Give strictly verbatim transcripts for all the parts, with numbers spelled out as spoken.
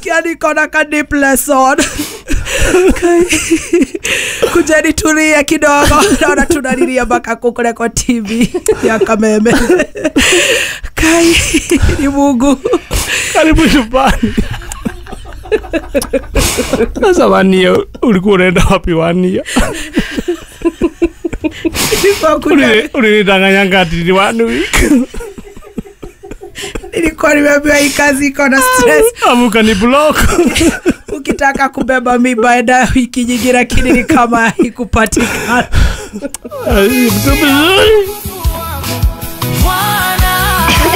Kia niko na ka deep lesson. Kujeni tulia kidogo. Naona tunalilia mpaka kule kwa T V ya Kameme. Kai ni Mungu. Karibu nyumbani. Sasa wania ulikuwa unaenda wapi wania? Ulinidanganya ngati ni one week. Nilikuwa nimeambiwa hii kazi iko na stress. Amuka ni block. Ukitaka kubeba mimba enda wiki nyingi, lakini ni kama haikupatikana. Mtu mzuri.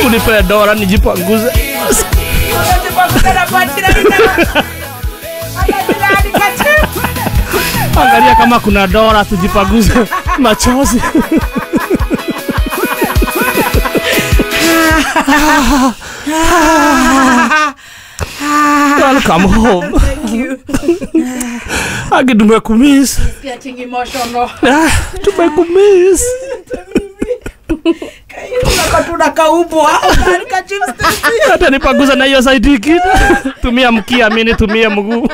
Unipe dola nijipanguze. Angalia kama kuna dola tujipanguze machozi. Welcome home. Thank you. Agi tumekumiss. Getting emotional. Ah, tumekumiss. Hata nipanguza na hiyo side kitu. Tumia mkia, mimi nitumie mguu.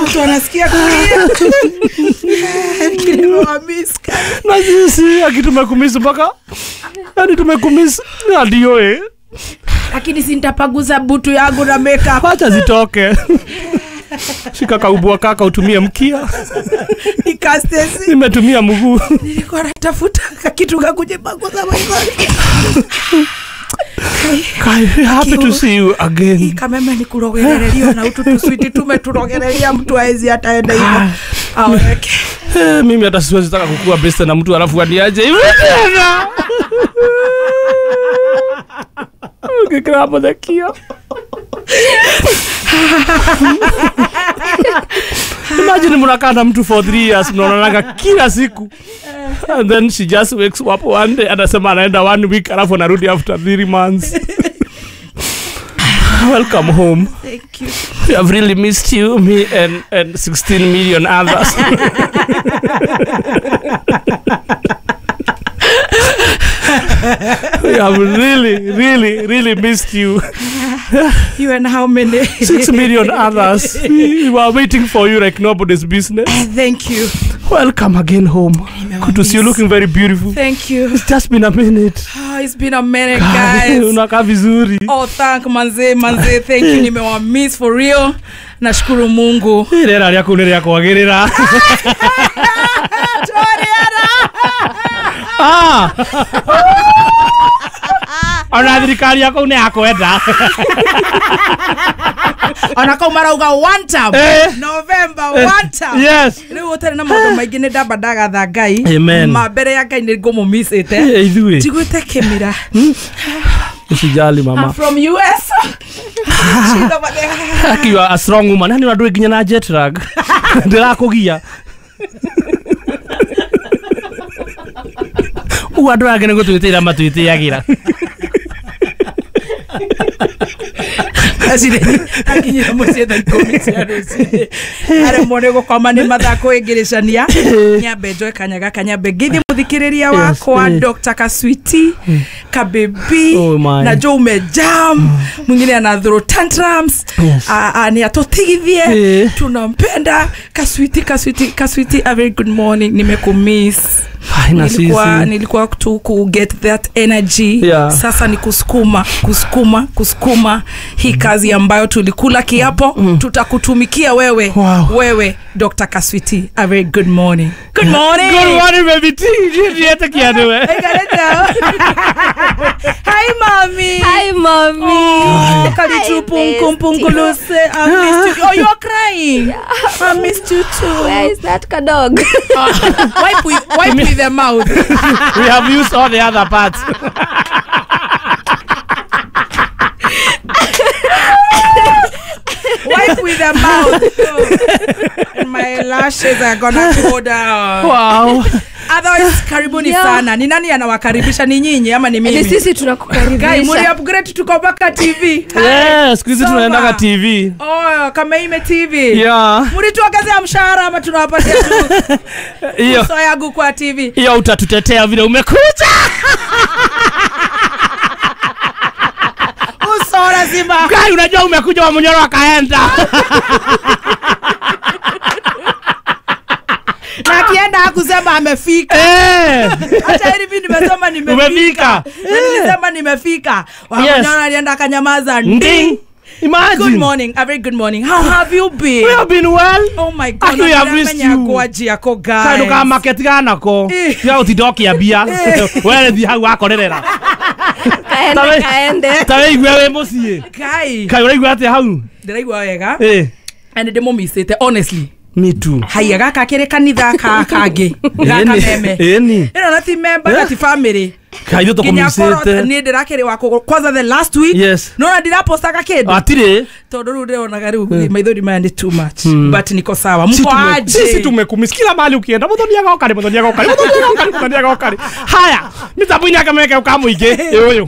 Mtu anasikia kulia. Na sisi aki tumekumiss mpaka. Yaani tumekumiss ndio eh. Lakini si nitapaguza butu yangu na makeup. Acha zitoke. Shika kaubwa kaka utumie mkia. Nikastesi. Nimetumia mguu. Nilikuwa natafuta kitu kakujipanguza maisha. Kai, happy to see you again. Kameme ni kurogereria na utu tuswiti tumeturogereria mtu haezi ataenda hivyo. Aweke. Eh, mimi hata siwezi taka kukua best na mtu alafu aniaje hivi tena. Ukikrapa dakia. Imagine mnakaa na mtu for three years mnaonana kila siku. And then she just wakes up one day anasema anaenda one week alafu anarudi after three months. Welcome home. Thank you. We have really missed you, me and and sixteen million others. We have really, really, really missed you. You and how many? Six million others. We were waiting for you like nobody's business. Thank you. Welcome again home. Good to see you, looking very beautiful. Thank you. It's just been a minute. Oh, it's been a minute, guys. Unakaa vizuri. Oh, thank manze, manze. Thank you. Nimewa miss for real. Nashukuru Mungu. Rera ryaku ni rya kwagirira. Ah. Ona thirikari yako ni yakwenda. Ona kau marauga one time. Eh. November eh. one time. Yes. Riu utari na maundu maingi ni ndamba ndagatha Ngai. Ma mbere ya Ngai ni ngũmũmiss ite. Eh, ithuĩ. Njiguĩte kĩmira. Usijali mama. I'm from U S. Aki you are a strong woman. Hani unadui nginya na jet lag. Ndĩrakũgia. Ugu andũ angĩ nĩ gũtwĩtĩra matwĩtĩagĩra. Akinyira mũciĩ thaa ikũmi cia rũcinĩ. Aremwo nĩ gũkoma nĩ mathaa kwĩngĩrĩcania. Nyambe njoe kanya gaka nyambe ngeithie mũthikĩrĩria wakwa Doctor Kaswiti Kabebi oh na Joe Mejam mwingine ana throw tantrums. Yes. Ni atutigithie. Tunampenda Kaswiti Kaswiti Kaswiti, a very good morning. Nimekumiss. Nilikuwa nilikuwa tu ku get that energy. Yeah. Sasa ni kusukuma kusukuma kusukuma hii kazi ambayo tulikula kiapo. Mm. Tutakutumikia wewe. Wow. Wewe Doctor Kaswiti, a very good morning. Good morning. Good morning baby T. Niete kianuwe. Hi mommy. Hi mommy. Oh, karibu punkumpunkuluse. I missed you. Oh, you are crying. Yeah. I missed you too. Where is that dog? Uh, wipe with, wipe with the mouth. We have used all the other parts. Wipe with the mouth. Oh. And my lashes are gonna go down. Wow. Otherwise, karibuni yeah. sana. Ni nani anawakaribisha, ni nyinyi ama ni mimi? Ni sisi tunakukaribisha. Guys, muri upgrade tuko mpaka T V. Yes, siku hizi tunaenda T V. Oh, Leo Kameime T V. Yeah. Mlituongezea mshahara ama tunawapatia tu? Hiyo. Uso yangu kwa T V. Hiyo utatutetea vile umekuja. Uso lazima. Kai unajua umekuja wa Munyoro akaenda. Na akienda hakusema amefika. Eh. Hata hivi nimesema nimefika. Umefika. Nilisema nimefika. Wa Munyoro alienda akanyamaza. Nding. Imagine. Good morning, a very good morning. How have you been? We have been well. Oh my God. We have missed you. Guys. Kando ka market gana ko. Ya utidoki ya bia. Wewe thi hau akorerera. Kaende kaende. Tawe igwe we mucii. Kai. Kai uraigua atia hau? Ndiraigua wega. Eh. And ndimumisite honestly. Me too. Haya gaka kire kanitha ka kangi. Gaka meme. Eni. Ino na ti member na ti family. Kaitho tukumisite. Ni ndirakire wa kwanza the last week. Yes. No na ndirapostaga kindu. Atire. Tondu riu ndironaga riu maithori maya ni too much. But niko sawa. Mko aje? Sisi tumekumisi kila mahali ukienda. Muthoni agoka ri, muthoni agoka ri, muthoni agoka ri, muthoni agoka ri. Haya, mitambo-inĩ akameke ukamuingĩ. Ũyũ.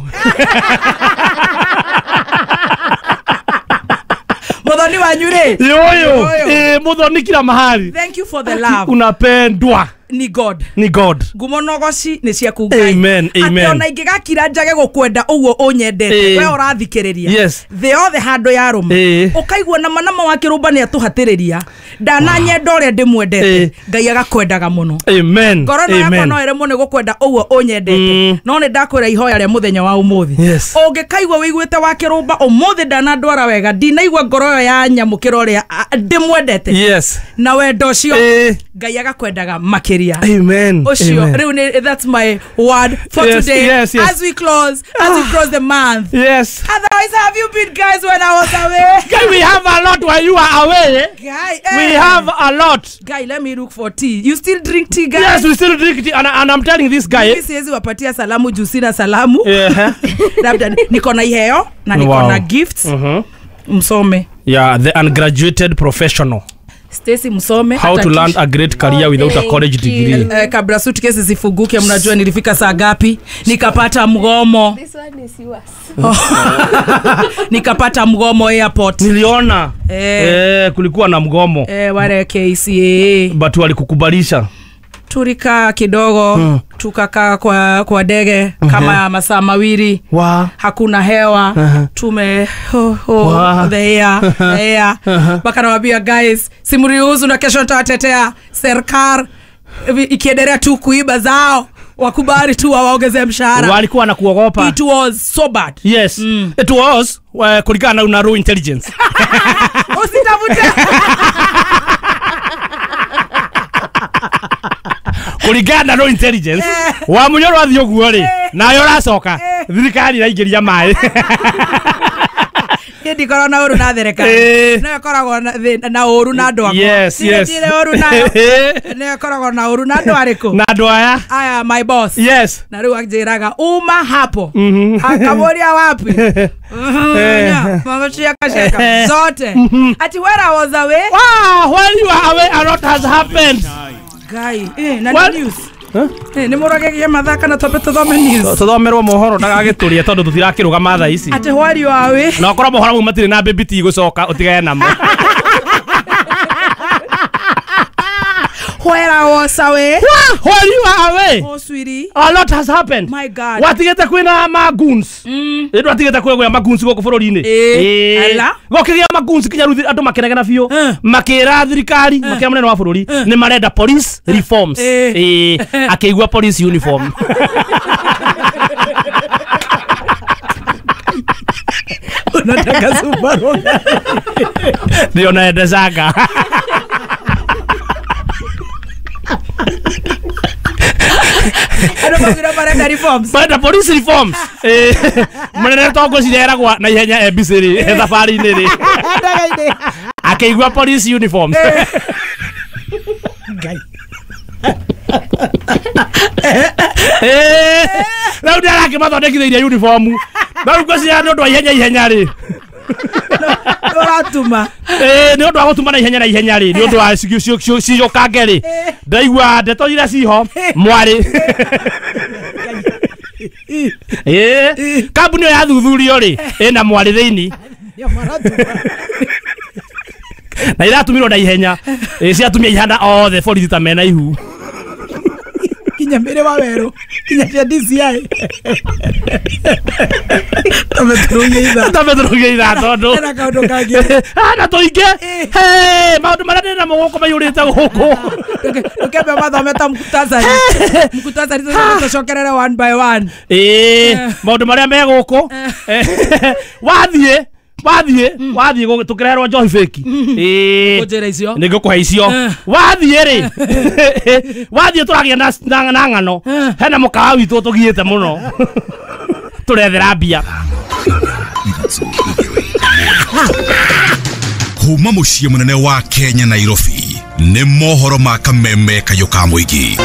Muthoni wanyu ri. Yoyo. Eh, muthoni kila mahali. Thank you for the love. Unapendwa. Ni God. Ni God. Ngumo nogoci ni ciaku Ngai. Amen. Amen. Ati ona ingigakira njage gukwenda uguo unyendete. We urathikiriria. Yes. The othe handu ya ruma. Ukaigua na manama wa kirumba ni atuhatiriria. Ndana nyenda uria ndimwendete. Ngai agakwendaga muno. Amen. Ngoro no yakwa no ere muno gukwenda uguo unyendete. No ni ndakwira ihoya ria muthenya wa umuthi. Ungikaigua wiguite wa kirumba umuthi ndana ndwara wega. Ndinaigua ngoro yo ya nyamukira uria ndimwendete. Yes. Na wendo ucio Ngai agakwendaga makiria. Amen. Oshio, Amen. That's my word for yes, today. Yes, yes. As we close, as we close the month. Yes. Otherwise, have you been guys when I was away? Guy, we have a lot while you are away. Guy, eh. We have a lot. Guy, let me look for tea. You still drink tea, guys? Yes, we still drink tea. And, and I'm telling this guy. Mimi siwezi wapatia salamu juu sina salamu. Yeah. Labda niko na iheo na niko wow. na gifts. Mm-hmm. Msome. Yeah, the ungraduated professional. Stacy msome. How to land a great career oh, without a college degree. Uh, kabla suitcase zifunguke mnajua nilifika saa ngapi? Nikapata mgomo. This one is yours. Oh. Nikapata mgomo airport. Niliona. Eh, eh kulikuwa na mgomo. Eh, wale K C A. But walikukubalisha. Tulikaa kidogo, hmm. tukakaa kwa kwa ndege kama uh-huh. masaa mawili. Wow. Hakuna hewa. Uh-huh. Tume oh, oh, wow. the air, the air. Uh-huh. Wakaniambia guys, simruhusu na kesho nitawatetea serikali ikiendelea tu kuiba zao. Wakubali tu waongeze mshahara. Walikuwa wanakuogopa. It was so bad. Yes. Mm. It was uh, kulingana na raw intelligence. Usitafute. Kulingana na intelligence wa Munyoro athio guo ri nayo racoka thirikari iraingiria mai. Ni ndikorwo na uru na thirikari no ikoragwo na uru na andu akwa. Yes, yes. Ndire uru nayo no ikoragwo na uru na andu ariku na andu aya aya my boss. Yes. Na riu anjiraga uma hapo akamuria wapi mama cheka cheka zote ati where I was away. Wow, while you are away a lot has happened. Guy, eh, na news. Huh? Eh, ni muragegia mathaka na tope tuthome news. Tuthomerwo mohoro ndagagiturie tondu tutirakirugama thaa ici. Ati while you are away. Na okorwo mohoro mau matire na baby ti gucoka utigane namo. Where I was away. While you are away. Oh sweetie. A lot has happened. My God. Watigete kwina magoons. Mm. Ndu watigete kwina magoons guku bururi-ini. Eh. Ala. Gokigia magoons kinya riu andu makenegena biu. Makira thirikari, makira munene wa bururi ni marenda police reforms. Eh. Akigua police uniform. Unataka Subaru. Ndio naendezaga. Ano magira marenda reforms. Marenda police reforms. Eh, munene tongo cireragwa na ihenya M B C ri thabari-inĩ ri. Akĩigua police uniforms. Ngai. Eh, rĩu nĩ arakĩmathondekithĩirie uniform. Na rĩu ngwĩciria nĩ ũndũ wa ihenya ihenya rĩ. Ũratuma. Eh, nĩ ũndũ wa gũtuma na ihenya na ihenya rĩ, nĩ ũndũ wa ciũkange rĩ. Ndaigua ndeto iria ciho mwarĩ. Eh, kambuni ĩyo yathuthurio rĩ, ĩna mwarĩ thĩinĩ. Na iratumirwo na ihenya. Ĩ ciatumia ihana othe borithi ta mena ihu. Kinya mbere wa weru kinya cia D C I tameturugia tameturugia itha tondu na kaundu kangi ah na tuinge he maundu maria ndina mo guku mayurite guku ndukembe mathome ta mkutasari mkutasari tucokerere one by one eh maundu maria me guku wathie wathie wathie tukirerwo njohi fake eh ngũnjĩra icio nĩ ngũkũhe icio wathie rĩ wathie tũragia na na ng'ano hena mũkawa witũ tũgiĩte mũno tũrethera mbia kuma mũciĩ mũnene wa Kenya Nairobi ni mohoro ma kameme kayo ka mũingĩ.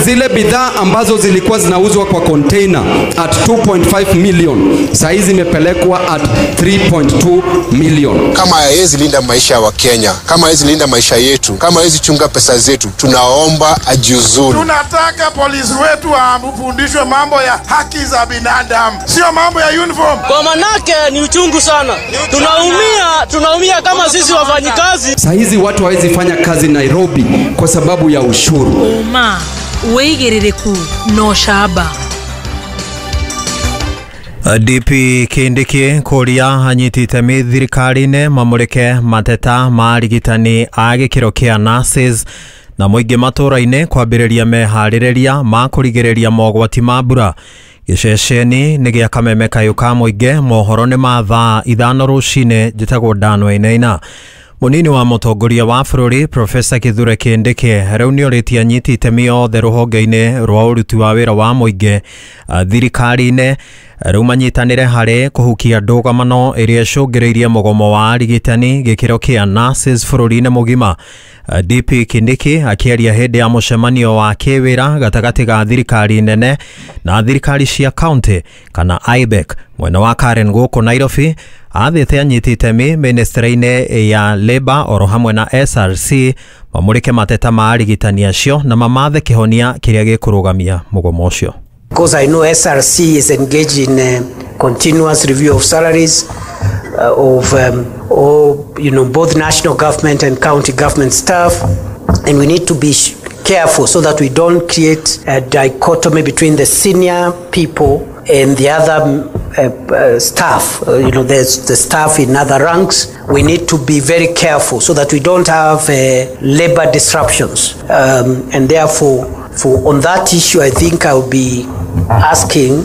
Zile bidhaa ambazo zilikuwa zinauzwa kwa container at two point five million saizi imepelekwa at three point two million. Kama hawezi linda maisha wa Kenya, kama hawezi linda maisha yetu, kama hawezi chunga pesa zetu, tunaomba ajiuzuru. Tunataka polisi wetu wafundishwe mambo ya haki za binadamu, sio mambo ya uniform. Kwa manake ni uchungu sana. Tunaumia, tunaumia kama sisi wafanyikazi. Saizi watu hawezi fanya kazi Nairobi kwa sababu ya ushuru. Uma wigiririku no shaba. D P Kindiki kuria anyiti itemi thirikari-inĩ mamũrĩke mateta ma arigitani a gĩkĩro kĩa nurses na mũingĩ matũra-inĩ kwambĩrĩria meharĩrĩria ma kũrigĩrĩria mogwati ma mbura. Gĩceceni nĩ gĩa kameme kayũ ka mũingĩ mohoro nĩ ma thaa ithano rũcinĩ. Njĩtagwo Dan Wainaina. Munini wa mũtongoria wa bũrũri Profesa Kithure Kindiki rĩu nĩorĩtie anyiti itemi othe rũhonge-inĩ rwa ũruti wa wĩra wa mũingĩ thirikari-inĩ rĩu manyitanĩre harĩ kũhukia ndũgamano ĩrĩa ĩcũngĩrĩirie mũgomo wa arigitani gĩkĩro kĩa nurses bũrũri-inĩ mũgima. D P Kindiki akĩaria hĩndĩ ya mũcemanio wa kĩwĩra gatagatĩ ga thirikari nene na thirikari cia county kana I B E C mwena wa Karen gũkũ Nairobi athĩte anyiti itemi ministry-inĩ ya Labour oro hamwe na S R C mamũrĩke mateta ma arigitani acio na mamathe kĩhonia kĩrĩa gĩkũrũgamia mũgomo ũcio. Because I know S R C is engaged in a continuous review of salaries uh, of um, all, you know, both national government and county government staff, and we need to be careful so that we don't create a dichotomy between the senior people and the other uh, uh, staff. Uh, you know, there's the staff in other ranks. We need to be very careful so that we don't have uh, labor disruptions. Um, and therefore, for on that issue, I think I'll be asking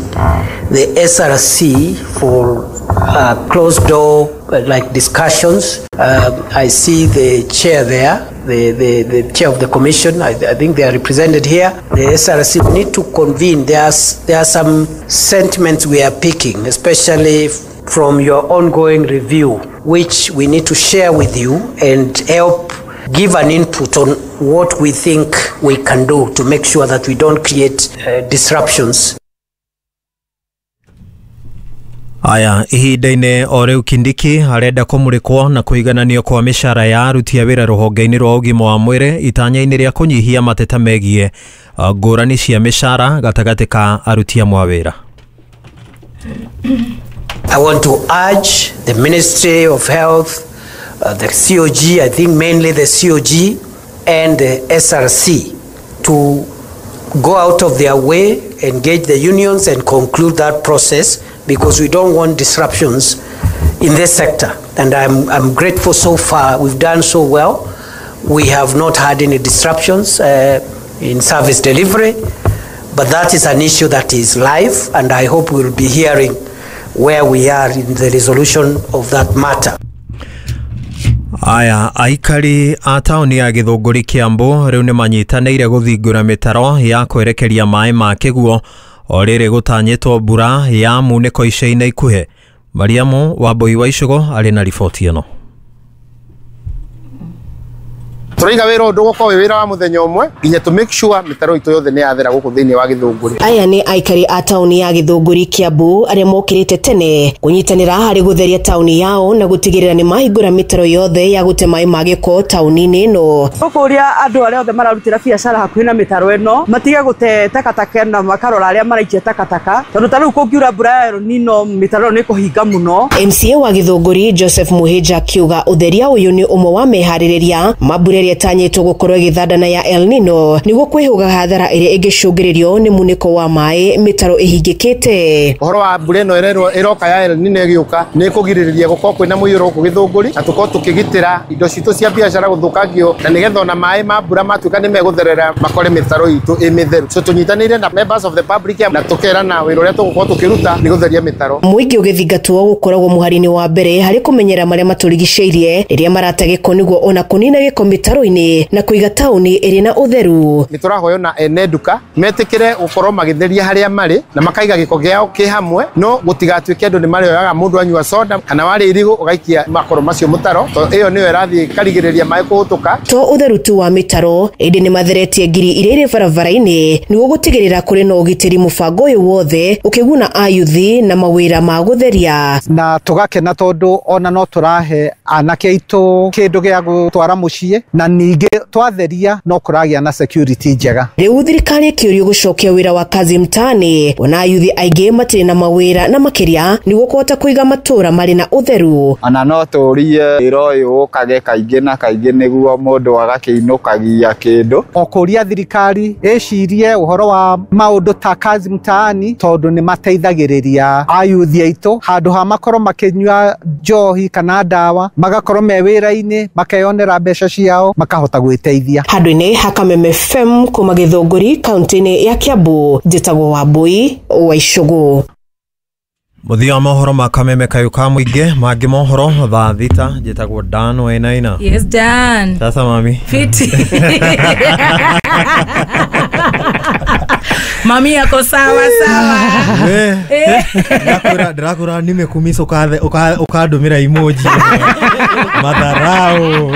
the S R C for uh, closed door uh, like discussions. Um, I see the chair there, the, the, the chair of the commission. I, I think they are represented here. The S R C need to convene. There's, there are some sentiments we are picking, especially from your ongoing review, which we need to share with you and help give an input on what we think we can do to make sure that we don't create uh, disruptions. Aya, ihinda-inĩ o rĩu Kindiki arenda kũmũrĩkwo na kũigananio kwa mĩcara ya aruti a wĩra rũhonge-inĩ rwa ũgima wa mwĩrĩ itanya-inĩ rĩa kũnyihia mateta megiĩ ngũrani cia mĩcara gatagatĩ ka aruti amwe a wĩra. I want to urge the Ministry of Health, uh, the C O G, I think mainly the C O G and the S R C to go out of their way, engage the unions and conclude that process, because we don't want disruptions in this sector. And I'm, I'm grateful so far. We've done so well. We have not had any disruptions uh, in service delivery, but that is an issue that is live, and I hope we'll be hearing where we are in the resolution of that matter. Aya, aikari a taũni ya Gĩthũngũri Kĩambu rĩu nĩmanyitanĩire gũthingũra mĩtaro ya kwerekeria maĩ ma kĩguo o rĩrĩ gũtanyĩtwo mbura ya munĩko ica-inĩ ikuhĩ. Mariamu Wambui wa Icũgo arĩ na riboti ĩno. Tũraiga wĩra ũndũ gũkorwo wĩ wĩra wa mũthenya ũmwe nginya to make sure mĩtaro itũ yothe nĩ yathera gũkũ thĩinĩ wa Gĩthũngũri. Aya nĩ aikari a taũni ya Gĩthũngũri Kiambu arĩa mokĩrĩte tene kũnyitanĩra harĩ gũtheria taũni yao na gũtigĩrĩra nĩ mahingũra mĩtaro yothe ya gũte maĩ ma gĩko taũni-inĩ ĩno. Tũkũria andũ arĩa othe mararutĩra biacara hakuhĩ na mĩtaro ĩno matige gũte takataka na makarora arĩa maraikia takataka tondũ ta rĩu kũngiura mbura ya El Nino mĩtaro nĩ kũhinga mũno. M C A wa Gĩthũngũri Joseph Muhĩnja akiuga ũtheria ũyũ nĩ ũmwe wa meharĩrĩria ma mbura ĩrĩa ĩtanyĩtwo gũkorwo ĩgĩthandana ya El Nino nĩguo kwĩhũga hathara ĩrĩa ĩngĩcũngĩrĩrio nĩ munĩko wa maĩ mĩtaro ĩhingĩkĩte. Ũhoro wa mbura ĩno ĩrerwo ĩroka ya El Nino ĩgĩũka nĩ ĩkũgirĩrĩria gũkorwo kwĩna mũiyũro gũkũ Gĩthũngũri na tũkorwo tũkĩgitĩra indo citũ cia biacara gũthũkangio na nĩgetha ona maĩ ma mbura matuĩka nĩ megũtherera makore mĩtaro itũ ĩ mĩtheru. So tũnyitanĩire na members of the public na tũkerana wĩra ũrĩa tũgũkorwo tũkĩruta nĩ gũtheria mĩtaro. Mũingĩ ũgĩthingatwo gũkoragwo mũhari-inĩ wa mbere harĩ kũmenyera marĩa matũrigicĩirie rĩrĩa marata gĩko nĩguo ona kũnina gĩko mĩtaro-inĩ na kũiga taũni ĩrĩ na ũtheru. Nĩ tũrahoywo na ene nduka metĩkĩre gũkorwo magĩtheria harĩa marĩ na makaiga gĩko gĩao kĩ hamwe no gũtigatuĩke andũ nĩ marĩoyaga mũndũ anyua soda kana warĩa irigũ ũgaikia makoro macio mũtaro to ĩyo nĩyo ĩrathiĩ ĩkarigĩrĩria maĩ kũhũtũka. To ũtheru tu wa mĩtaro ĩndĩ nĩ matheretie ngiri iria irĩ barabara-inĩ nĩguo gũtigĩrĩra kũrĩ na ũgitĩri mũbango ũyũ wothe ũkĩguna ayuthi na mawĩra ma gũtheria. Na tũgakena tondũ ona no tũrahe anake aitũ kĩndũ gĩa gũtwara mũciĩ na ningĩ twatheria no kũragĩa na security njega. Rĩu thirikari ĩkĩũrio gũcokia wĩra wa kazi mtaani ona ayuthi aingĩ matirĩ na mawĩra na makĩria nĩguo kũhota kũiga matũũra marĩ na ũtheru. Ona no tũrie wĩra ũyũ ũkage kaingĩ na kaingĩ nĩguo mũndũ agakĩinũkagia kĩndũ. O kũria thirikari ĩcirie ũhoro wa maũndũ ta kazi mtaani tondũ nĩ mateithagĩrĩria ayuthi aitũ handũ ha makorwo makĩnyua njohi kana ndawa magakorwo me wĩra-inĩ makeyonera mbeca ciao makahota gwĩteithia. Handũ-inĩ ha Kameme F M kuma Gĩthũngũri kaunti-inĩ ya Kiambu njĩtagwo Wambui wa Icũgũ. Mũthia wa mohoro ma Kameme kayũ ka mũingĩ mangĩ mohoro thaa thita njĩtagwo Dan Wainaina. Yes Dan. Sasa mami. Fiti. Mami yako sawa sawa. Eh. Ndakura ndakura nimekumisa ukathe ukandumira emoji. Madharau.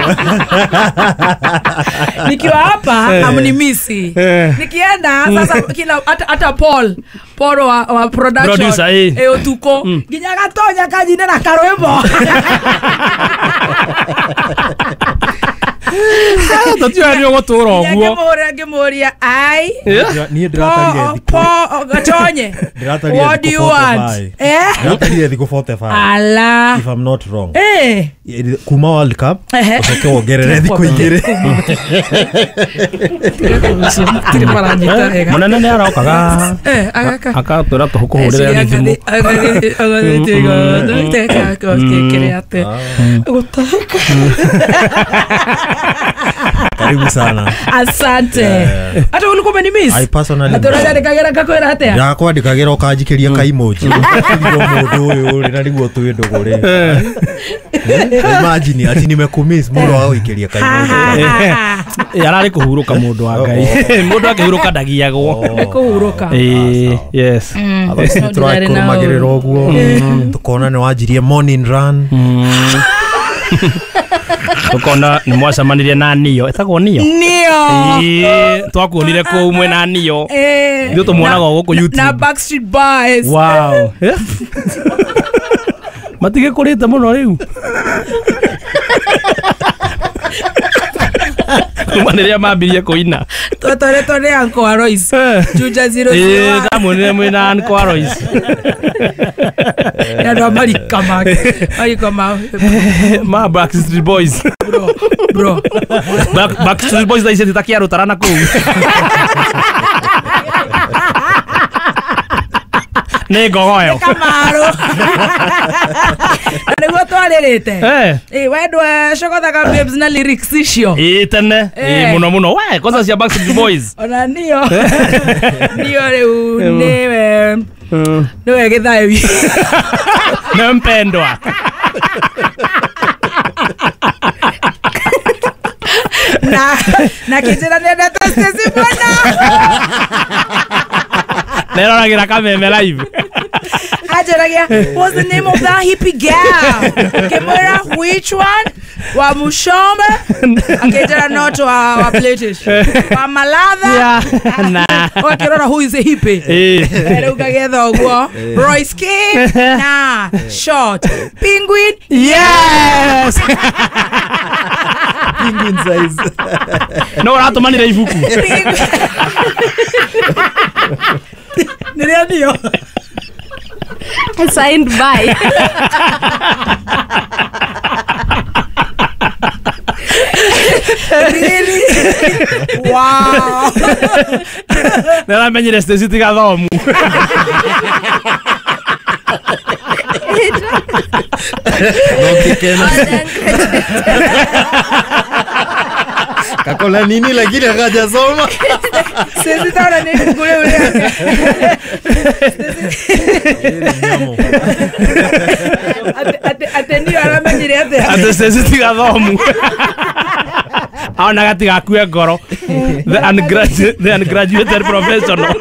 Nikiwa hapa amnimisi. Nikienda sasa kila hata hata Paul Paul wa, wa production producer eh e utuko nginya gatonya kajine na karwimbo. Tatiwa ni ogotura oguo. Ngĩmũria ngĩmũria ai. Niĩ ndĩratarire thikũ. Paul gatonye. What do you want? Eh? Ndĩratarire thikũ forty-five. Ala. If I'm not wrong. Eh. Kuma World Cup ucoke wongerere thikũ igĩrĩ. Mũnene nĩ arokaga. Eh, agaka. Akatwĩra tũkũhũrĩre thimũ. Karibu sana. Asante. Hata ulikuwa umenimiss. I personally. Hata unajandikagira ngakwira atia? Ndakwandikagira ukanjikiria ka emoji. Niguo mundu uyu ri na niguo twi ndugu ri. Imagine ati nimekumiss mundu wa gũikĩria ka emoji. Yararĩ kũhurũka mũndũ wa Ngai. Mũndũ akĩhurũka ndagiagwo. Nĩ kũhurũka. Eh, yes. Otherwise nĩ tũrakũrũmagĩrĩra ũguo. Tukona nĩ wanjirie morning run. Tukona nĩ mwacemanirie na Nio. Ĩtagwo Nio? Nio. Ĩĩ, twakuonire kũu mwena Nio. Ithuĩ tũmuonaga o gũkũ YouTube. Na Backstreet Boys. Wow. Matigĩkũrĩte mũno rĩu. Kuma rĩrĩa mambirie kũina. Twatwaretwo nĩ Uncle Alois. Juja zero zero one. Ĩĩ, ndamuonire mwĩna Uncle Alois. Nĩ andũ a marika make. Marika ma ma Backstreet Boys. Bro, bro. Back, Backstreet Boys thaa ici ti ta kĩarũtara na kũu. Nĩ ngogoyo. Kamaru. Na nĩguo twarĩrĩte. Ĩ wendwa cogothaga babes na lyrics icio. Ĩ tene. Ĩ mũno mũno. We kwanza cia Backstreet Boys. Ona nio. Nio rĩu nĩwe nĩwe gĩthayo. Nĩ mpendwa. Na na kĩnjĩra nĩendete Stacy mũno. Neroragĩra Kameme live. Anjĩragia, what's the name of that hippie girl? Ngĩmwĩra which one? Wa Mushombe akĩnjĩra not wa wa British. Wa Malatha. Yeah. Nah. Wakĩrora who is a hippie. Eh. Rĩu ngagetha ũguo. Royce King. Nah. Short. Penguin. Yes. Penguin size. No ũratũmanire ibuku. Nĩrĩa ndio. Signed by. Really? Wow. Nĩaramenyire Stacy tiga thomu. Kakola nini lakini hajasoma. Sisi taona nini kule ule. Ate ate ndio aramenyire ate. Ate Stacy tiga thomu. Aona gatigakue ngoro. The ungraduate the ungraduated professional.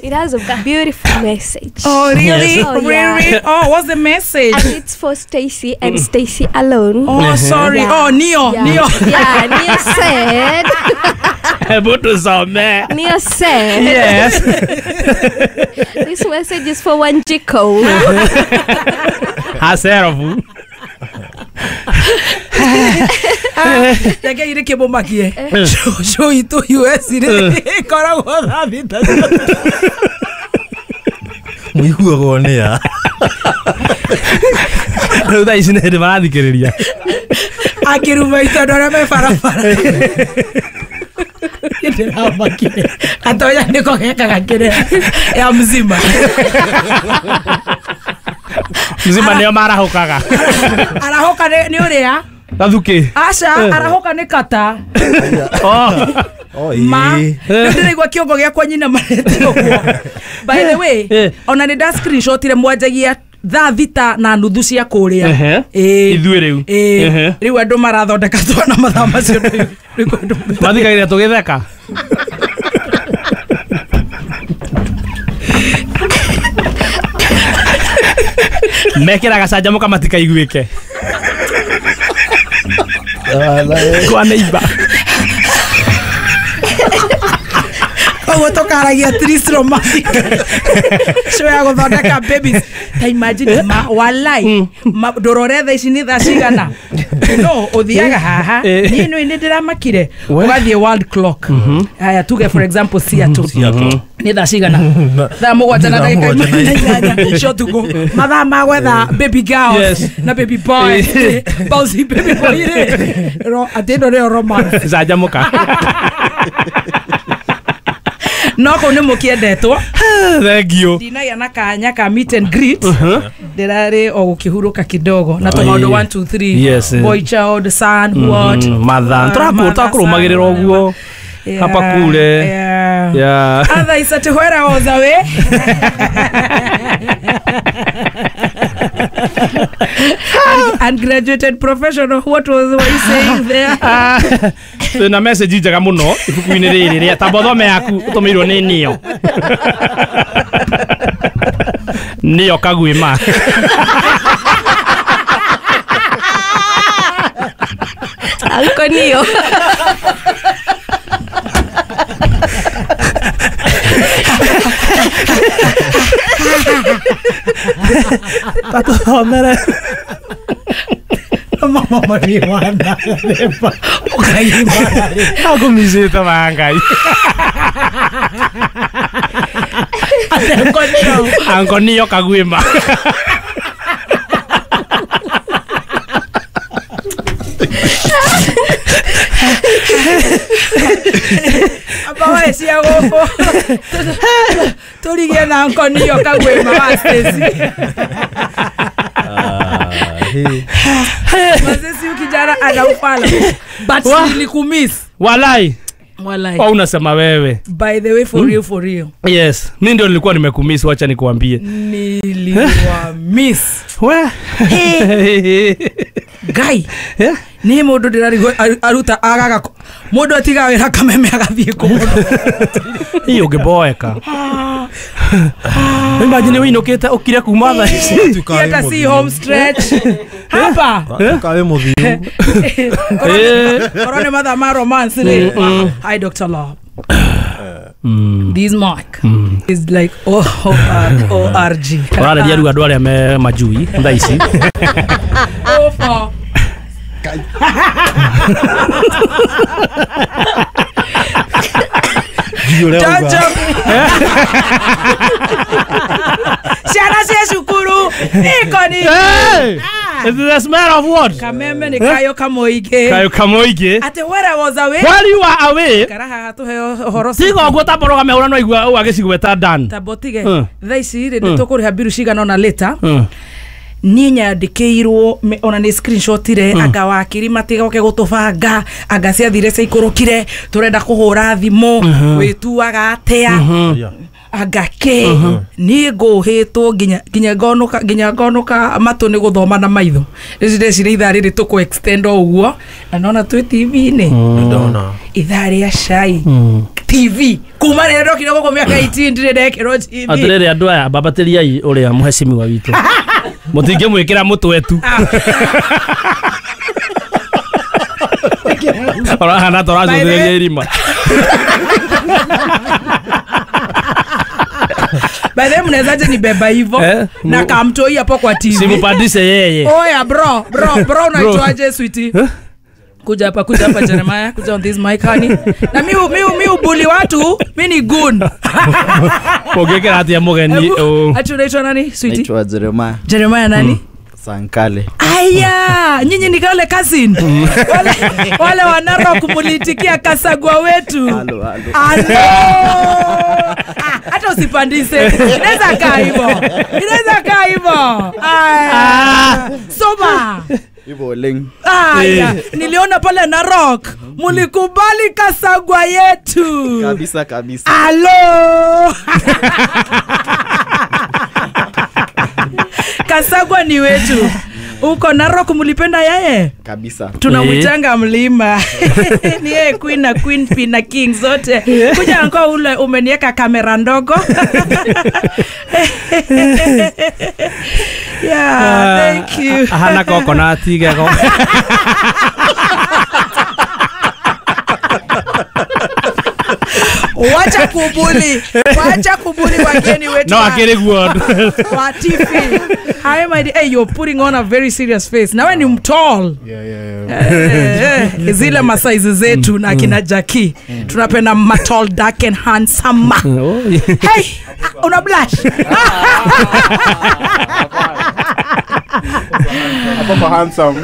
It has a beautiful message. Oh really? Yes. Oh, yeah. Really? Oh, what's the message? And it's for Stacy and Stacy alone. Oh, sorry. Yeah. Oh, Neo. Yeah. Neo. Yeah, Neo said. Neo said. Yes. This message is for Wanjiko. Haserofu. Reke ire kĩmũmakie show itũ U S rĩ ĩkoragwo thaa thita mũiguagwo nĩ a rĩu thaa ici nĩ hĩndĩ marathikĩrĩria akĩruma itũ andũ arĩa me barabara ndĩramakire gatonya nĩko gekaga kĩrĩa ya mzima mzima nĩo marahũkaga arahũka nĩ ũrĩa Gathuki. Aca arahoka nĩ kata. Oh, ma ndĩraigua kĩongo gĩakwa nyina marete ũguo. By the way, ona nĩ nda screenshotire mwanjagia thaa thita na nuthu cia kũrĩa. Ĩĩ. Ithuĩ rĩu. Ĩĩ. Rĩu andũ marathondeka twana mathaa macio mathikagĩrĩria tũgĩtheka. Mekĩraga canjamũka matikaiguĩke. Kwa neighbor. Koguo tũkaragia Tris romantic. Show ya gũthondeka babies. Ta imagine ma walai ndũrore thaa ici nĩ thaa cigana. No ũthiaga haha. Niĩ nĩ ndĩramakire. Ũgathiĩ world clock. Haya tuge for example Seattle. Nĩ thaa cigana? Thaa mũgwanja na ndagĩka ikũmi na inyanya cia ũtukũ. Mathaa ma gwetha baby girls na baby boys. Bouncy baby boy rĩ. Atĩ ĩno nĩyo romance. Canjamũka. No kũu nĩ mũkĩendetwo. Thank you. Ndinagĩa na kanya ka meet and greet. Ndĩrarĩ o gũkĩhurũka kidogo na tũmaũndũ one two three. Boy child, son, what? Mother. Tũrakũrũmagĩrĩra ũguo. Hapa kule. Yeah. Otherwise ati where I was away. Ungraduated professional, what was what you saying there? Twina message njega muno ibuku-inĩ rĩrĩ rĩa tamba ũthome yaku ũtũmĩirwo nĩ Neo. Neo Kagwima. Uncle Neo. Tatuthomere. Mama marijuana. Ũkaimara. Akũmicĩte ma Ngai. Uncle Neo Kagwima. Amba cia gũkũ tũrigie na Uncle Neo Kagwima wa Stacy. Mazesi ukijana anaufala. But nilikumiss. Walai. Walai. Au unasema wewe. By the way for mm. real for real. Yes, mimi ndio nilikuwa nimekumiss, wacha nikuambie. Niliwa miss. We. Hey. Guy. Yeah. Ni mundu ndirarigwo aruta agaga mundu atiga wira kameme agathie kũndũ. Hiyo ũngĩboeka. Imagine wĩinũkĩte ũkire kuma thaa ici. Hata si home stretch. Hapa. Kawe mũthiu. Korwo nĩ mathaa ma romance rĩ. Hi Doctor Love. Mm. This mark mm. is like O O R G. Ũrareria rĩu andũ arĩa me majui thaa ici. O for Ciana cia cukuru iko ni. Is the smell of what? Kameme ni kayo kamoige. Kayo kamoige. Ate where I was away. While you are away. Karaha hatuheo ũhoro. Tiga ũguo tamba ũrũgame ũrĩa no igua ũũ agĩcigweta Dan. Tamba ũtige. Thaa ici rĩ nĩ tũkũrĩha mbiru cigana ũna later. Niĩ nyandĩkĩirwo ona nĩ screenshotire mm. anga wakiri matigoke gũtũbanga anga ciathire ciaikũrũkire tũrenda kũhũra thimũ mm -hmm. wĩtuaga atĩa mm -hmm. anga kĩ mm -hmm. niĩ ngũhĩtwo nginya nginya ngonũka nginya ngonũka matũ nĩ gũthoma na maitho rĩu ndeciria ithaa rĩrĩ tũkũ extend o ũguo na nona twĩ T V-inĩ ndona ithaa rĩa cai mm. T V kuma rĩrĩa ndokire gũkũ mĩaka eighteen ndirĩ ndekĩrwo T V. Atĩrĩrĩ andũ aya bambatĩriai ũrĩa mũhecimiwa witũ mũtingĩmwĩkĩra mũtwe tu ũrahana ta ũracũthĩrĩria irima. By the way mnawezaje nibeba hivyo eh, na kamtoi hapo kwa T V? Simpandishe yeye. Oya bro, bro, bro unaitwaje sweetie? Eh? Kuja hapa, kuja hapa Jeremiah, kuja on this mic honey. Na mi mi mi ubuli watu, mi ni goon. Pogekera atia mugeni. Ati unaitwa nani sweetie? Naitwa Jeremiah. Jeremiah nani? Mm. Sankale. Aya, nyinyi ni wale cousin. Wale wale wanaro kumulitikia Kasagwa wetu. Halo halo. Halo. Hata usipandise. Inaweza kaa hivyo. Inaweza kaa hivyo. Aya. Soma. Hivyo leng. Aya, niliona pale Narok mulikubali Kasagwa yetu. Kabisa kabisa. Halo. Kasagwa ni wetu. Uko Narok mulipenda yeye? Kabisa. Tunamwitanga mlima. Ni yeye queen na queen pin na king zote. Kuja anko ule umeniweka kamera ndogo. Yeah, thank you. Hana coconut gego. Wacha kubuli. Wacha kubuli wageni wetu. No, akiri good. Wa T V. Hi my dear. Hey, you're putting on a very serious face. Nawe ni mtall. Yeah, yeah, yeah. Eh, zile masaizi zetu na kina Jackie. Tunapenda matall, dark and handsome. Hey, una blush. Hapo kwa handsome,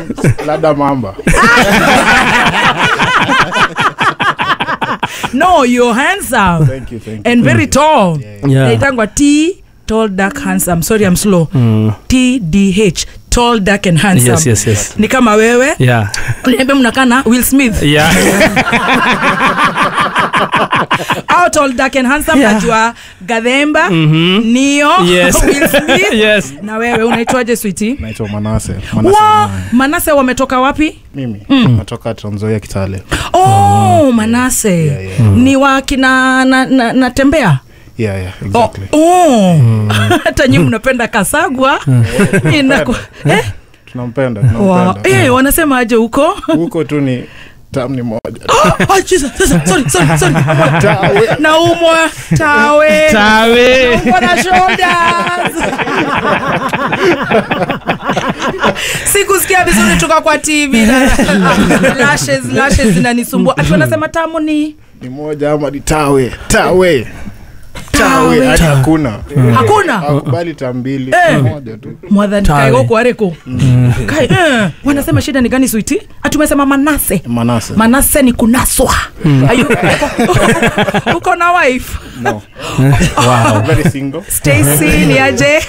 lada mamba. No, you're handsome. Thank you, thank you. And very tall. Yeah, yeah. Naitangwa T, tall, dark, handsome. Sorry, I'm slow. Mm. T D H, tall, dark and handsome. Yes, yes, yes. Ni kama wewe. Yeah. Uniambia mnakaa na Will Smith. Yeah. Out tall, dark and handsome. Yeah. Najua Gathemba, mm-hmm. Neo, yes. Will Smith. Yes. Na wewe unaitwaje sweetie? Naitwa Manase. Manase. Wow, Manase wametoka wapi? Mimi mm. natoka Trans Nzoia Kitale. Oh, Manase. Yeah, yeah. Mm. Ni wa kina na, na, na tembea? Yeah, yeah, exactly. Oh, oh. Mm. Hata nyinyi mnapenda Kasagwa. Inaku eh? Tunampenda, tunampenda. Wow. Eh, wanasema aje huko? Huko tu ni tamu ni moja. Oh, Jesus, sorry, sorry, sorry. Tawe. Naumwa, tawe. Tawe. Naumwa na shoulders. Sikusikia vizuri toka kwa T V. Lashes, lashes zinanisumbua. Ati wanasema tamu ni ni moja ama ni tawe. Tawe. Tawe hadi hakuna. Hakuna. Hakubali tambili moja tu. Mwadhani kai huko areko. Kai eh wanasema shida ni gani sweetie? Atumesema Manase. Manase. Manase ni kunaswa. Ayu uko na wife? No. Wow. Very single. Stacy ni aje?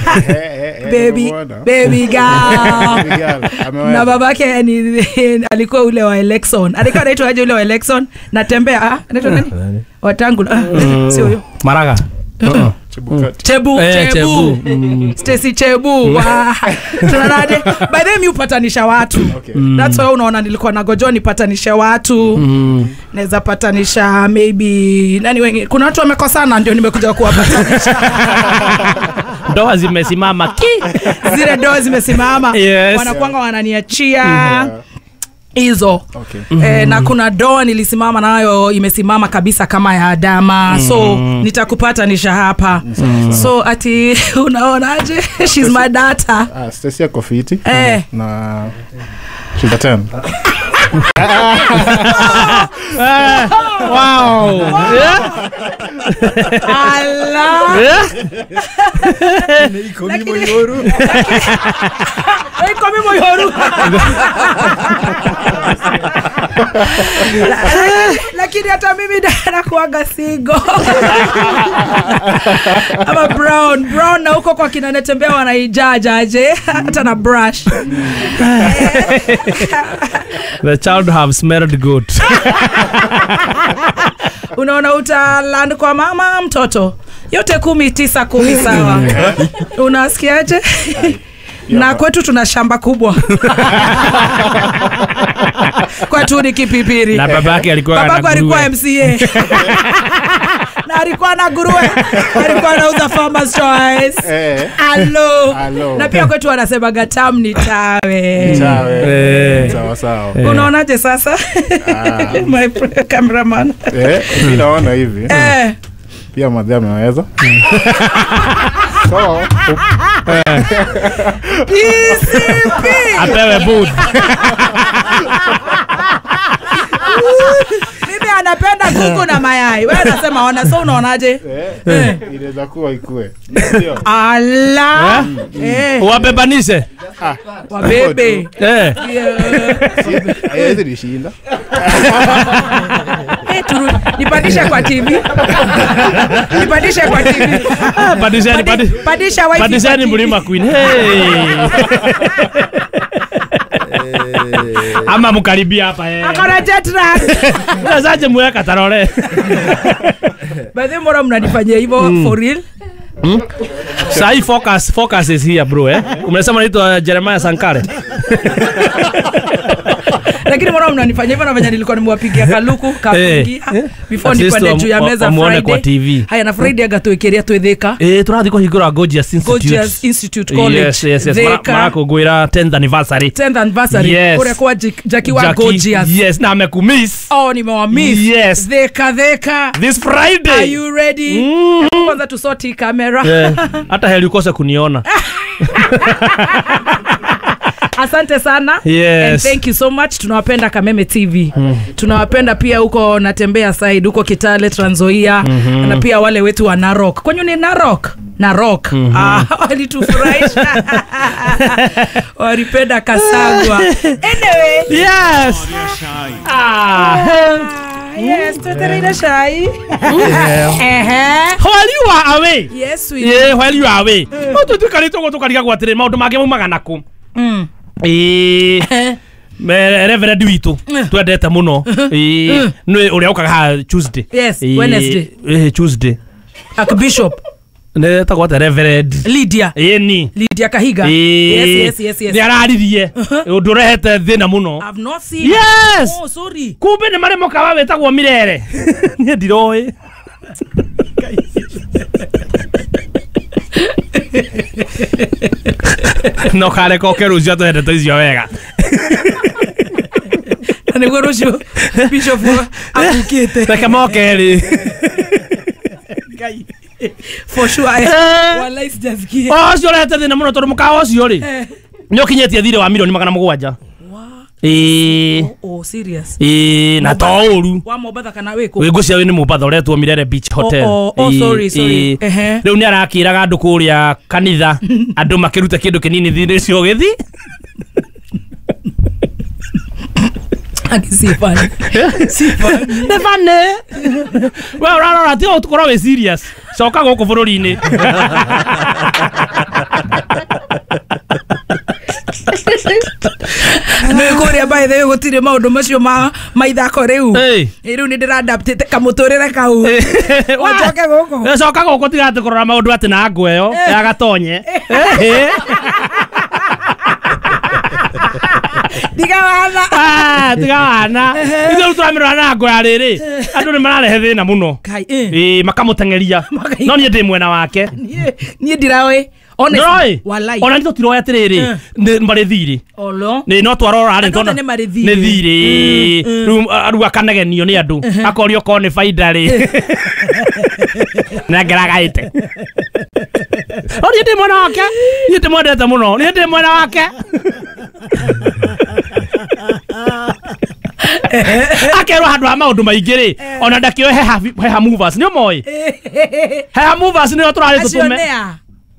Baby baby girl. Na babake ni alikuwa ule wa Elexon. Alikuwa anaitwa aje ule wa Elexon? Natembea ah anaitwa nani? Watangu. Sio huyo. Maraga. Chebu, Eh, Chebu. Chebu. Mm. Stacy Chebu. Wa. Tunaonaje? By the way, mi upatanisha watu. Okay. Mm. That's why unaona nilikuwa nagojoa nipatanishe watu. Mm. Naweza patanisha maybe nani wengi. Kuna watu wamekosana ndio nimekuja kuwapatanisha. Ndoa zimesimama ki. Zile ndoa zimesimama. Yes. Wanakuanga wananiachia. Hizo. Okay. Eh, na kuna doa nilisimama nayo imesimama kabisa kama ya Adama. Mm. So nitakupatanisha hapa. Mm. So ati unaonaje? She's my daughter. Ah, Stacy ako fiti. Eh. Na she's a ten. Eh, wow. Yeah. Allah. Yeah. Iko mimo yoru. Iko mimo yoru. Lakini hata mimi nakuaga single. Ama brown, brown na huko kwa kina Natembea wanaijaja aje hata na brush. The child have smelled good. Unaona utaland kwa mama mtoto. Yote kumi tisa kumi sawa. Unasikiaje? Na kwetu tuna shamba kubwa. Kwetu ni Kipipiri. Na babake alikuwa na Babako alikuwa nguruwe. M C A. Na alikuwa na nguruwe. Alikuwa anauza Farmer's Choice. Eh. Alo. Alo. Na pia kwetu wanasema gatam ni tawe. Tawe. Eh. Sawa sawa. Eh. Unaonaje sasa? Ah. My cameraman. Eh, mimi naona hivi. Eh. Pia madhe ameweza. So, P C P. Apewe booth. Mimi anapenda kuku na mayai. Wewe unasema ona, so unaonaje? eh, inaweza kuwa ikue. Ndio. Ala. Eh? Eh. Wabebanishe. Ah, Wabebe. Eh. Yeah. Haiwezi nishinda. Eh, turu nipandishe kwa T V. Nipandishe kwa T V. Ah, pandisheni, Pandi- pandi- Pandisha wifi. Pandisheni kwa T V. Mlima Queen. Hey. Ama mkaribia hapa eh. Akona jet lag. Unawezaje mweka tarore? By the way, mbona mnanifanyia hivyo for real? Hmm? Sahi focus focus is here bro eh. Umesema naitwa Jeremiah Sankare. Lakini mbona mnanifanyia hivyo na venye nilikuwa nimewapigia kaluku kafungia Eh. before At least nipande juu ya wa- meza wamuone kwa Friday. T V. Haya na Friday aga twĩkĩria twĩthĩka. Eh, tũrathiĩ kũhingũra Gorgeous Institute. Gorgeous Institute College. Yes, yes, yes. Mara- Thika. Marakũngũĩra tenth anniversary. tenth anniversary. Yes. Kũrĩa kwa Jackie Jackie wa Jackie, Gorgeous. Yes, na amekumiss. Oh, nimewamiss. Yes. Thika thika. This Friday. Are you ready? Mm. Kwanza tusoti kamera. Yeah. Hata heri ukose kuniona. Asante sana. Yes. And thank you so much. Tunawapenda Kameme T V. Mm. Tunawapenda pia huko Natembea side, huko Kitale, Trans Nzoia, mm-hmm. na pia wale wetu wa Narok. Kwenye ni Narok? Narok. Mm-hmm. Ah, walitufurahisha. Walipenda Kasagwa. Anyway. Yes. Ah. Yes, tuterere shai. Yeah. Ehe. While you are away. Yes, we. Yeah, while you are away. No tutukarĩte ũguo tũkarigagwo atĩrĩ maũndũ mangĩ maumaga nakũ. Mm. Ĩĩ. Me- Reverend witũ twendete mũno. Ĩĩ. Nĩ ũrĩa ũkaga haha Tuesday. Yes, Ĩĩ, Wednesday. Ĩĩ, Tuesday. Archbishop Nĩ etagwo atĩa Reverend Lydia. Ĩni. Lydia Kahiga. Ĩĩ. Yes, yes, yes, yes. Nĩ araririe ũndũ ũrehete thĩna mũno. I've not seen. Yes. Oh, sorry. Kumbe nĩ marĩ mũkawa wĩtagwo Mirere. Niĩ ndiroĩ. No kareka oke rũciũ atũhe ndeto icio wega. Na nĩguo rũciũ Bishop akukĩte. Reke moke rĩ. Ngai. For sure. Wallahi sijasikia. Ũcio ũrehete thĩna mũno tondũ mũkawa ũcio rĩ Eh. nĩ ũkinyĩtie thirĩ wa milioni magana mũgwanja. Ĩĩ. Oh, serious. Ĩĩ, na to ũru. Wa Mombatha kana wĩkũ? Wĩ ngũcia wĩ nĩ Mombatha ũretwo Mirere Beach Hotel. Oh, oh, oh, Ĩĩ, sorry, sorry. ĩĩ. Ehe. Rĩu nĩ arakĩraga andũ kũrĩa kanitha andũ makĩrute kĩndũ kĩnini thirĩ ũcio ũgĩthi. Aki si funny. Si funny. Nĩ funny. We ũrarora tiga gũkorwo wĩ serious. Coka gũkũ bũrũri-inĩ. Nĩ kũrĩa by By the way gũtirĩ maũndũ macio ma ma ithako rĩu. Rĩu nĩ ndĩradaptĩte kamũtũrĩre kau. Wacoke gũkũ. Coka gũkũ tiga atĩ kũrora maũndũ atĩ na ngũ ĩyo ya gatonye. Tiga wana. Ah, tiga wana. Ithuĩ tũramĩrora na ngũ ya rĩrĩ. Andũ nĩ mararehe thĩna mũno. Ĩĩ makamũteng'eria. No niĩ ndĩ mwena wake. Niĩ ndiraoĩ. Honestly, walai. Ona nĩ tũtiroĩ atĩrĩrĩ marĩ thirĩ. Olo. Nĩ no twarora rĩ tondũ nĩ marĩ thirĩ. Nĩ thirĩ. Rĩu rĩu akanegenio nĩ andũ. Akorio korwo nĩ baida rĩ. Nengeraga ĩte. No niĩ ndĩ mwena wake. Niĩ ndĩmwendete mũno. Niĩ ndĩ mwena wake. Akerwo handũ ha maũndũ maingĩ rĩ ona ndakĩoe heha movers nĩ ũmoĩ heha movers nĩo tũrarĩ tũtũme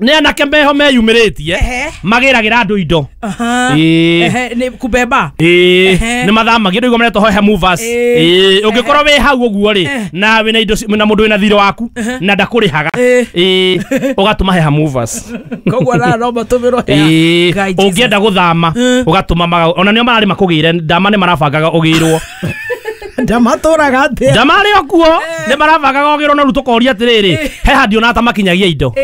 nĩ anake meho meyumĩrĩtie magĩragĩra andũ indo. Ĩĩ nĩ kubeba. Ĩĩ nĩ mathamagia ndũigua maretwo heha movers. Ĩĩ ũngĩkorwo wĩ hau ũguo rĩ na wĩna indo na mũndũ wĩna thirĩ waku na ndakũrĩhaga ĩĩ ũgatũma heha movers. Koguo no matũmĩrwo heha. Ĩĩ ũngĩenda gũthama ũgatũma ona nĩo mararĩ makũgĩre ndama nĩ marabangaga ũgĩrwo. Ndamatũraga atĩa? Ndama arĩ o kuo nĩ marabangaga ũgĩrwo na rĩu tũkoria atĩrĩrĩ heha ndionaga ta makinyagia indo.